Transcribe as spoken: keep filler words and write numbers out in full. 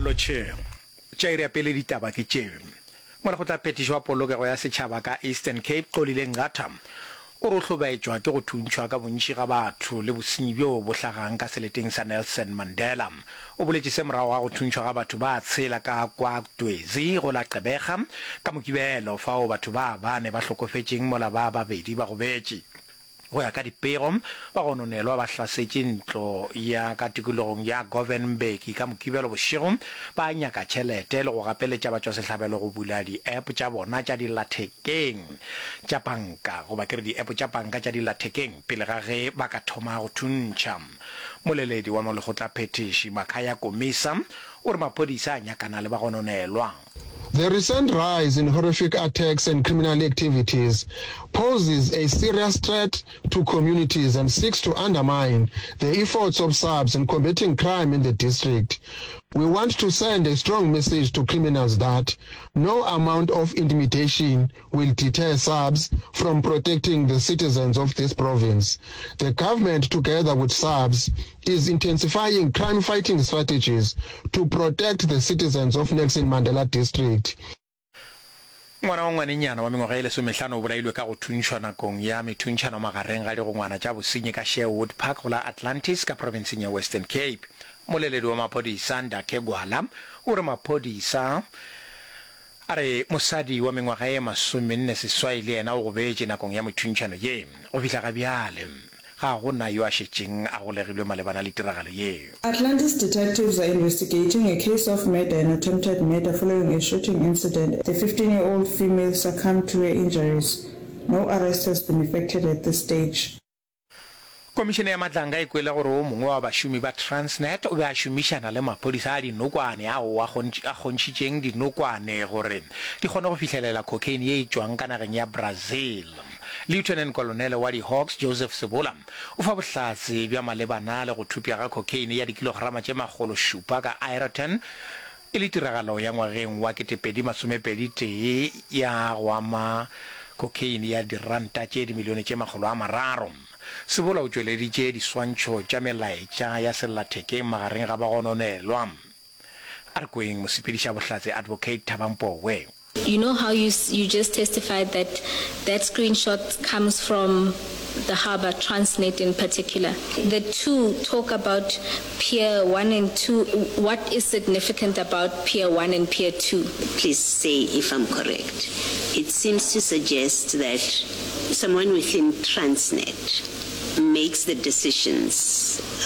Lotšheng. Tša iri ya pele ditaba ke tše. Molekgotlaphethiši wa polokego ya setšhaba ka Eastern Cape, Xolile Nqatha, o re o hlobaetšwa ke go thuntšhwa ka bontši ga batho le bosenyi bjo bo hlagang ka seleteng sa Nelson Mandela. O boletše se morago ga go thuntšhwa ga batho ba tshela ka KwaDwesi go la Gqeberha ka Mokibelo, fao batho ba bane ba hlokofetšeng mola ba babedi ba gobetše. Go ya ka dipego, bagononelwa ba hlasetše ntlo ya ka tikologong ya Govan Mbeki ka Mokibelo bošego ba nyaka tšhelete le go gapeletša batšwasehlabelo go bula di-app tša bona tša dillathekeng tša panka goba ke re di-app tša panka tša dillathekeng pele ga ge ba ka thoma go thuntšha. Moleledi wa molekgotlaphethiši Makhaya Komisa o re maphodisa a nyakana le bagononelwa. The recent rise in horrific attacks and criminal activities poses a serious threat to communities and seeks to undermine the efforts of SAPS in combating crime in the district. We want to send a strong message to criminals that no amount of intimidation will deter SAPS from protecting the citizens of this province. The government, together with SAPS, is intensifying crime-fighting strategies to protect the citizens of Nelson Mandela District. Ngwana wa ngwanenyana wa mengwaga ye lesomehlano o bolailwe ka go thuntšhwa nakong ya methuntšhano magareng ga digongwana tša bosenyi ka Sherwood Park go la Atlantis ka profenseng ya Western Cape. Moleledi wa maphodisa Ndakhe Gwala o re maphodisa a re mosadi wa mengwaga ye masomenne seswai le yena o gobetše nakong ya methuntšhano ye. Go fihla ga bjale ga go na yo a šetšeng a golegilwe malebana le tiragalo ye. Atlantis detectives are investigating a case of murder and attempted murder following a shooting incident. The fifteen year old female succumbed to her injuries. No arrest has been effected at this stage. Komišene ya Matlanga e kwele gore o mongwe wa bašomi ba Transnet o be a šomišana le maphodisa a dinokwane ao a kgontšhitšeng dinokwane gore di kgone go fihlelela cocaine ye e tšwang ka nageng ya Brazil. Lieutenant Kolonele wa di-Hawks Joseph Sebola o fa bohlatse bja malebana le go thupša ga cocaine ya dikilograma tše makgolo šupa ka Aeroton e le tiragalo ya ngwageng wa ketepedi masomepedi tee ya go ama cocaine ya diranta tše dimilione tše makgolo a mararo. Sebola o tšweleditše diswantšho tša melaetša ya sellathekeng magareng ga bagononelwa. A re kweng mosepedišabohlatse Advocate Thabang Powe. You know how you, you just testified that that screenshot comes from the harbour, Transnet in particular. The two talk about Pier one and two. What is significant about Pier one and Pier two? Please say if I'm correct. It seems to suggest that someone within Transnet makes the decisions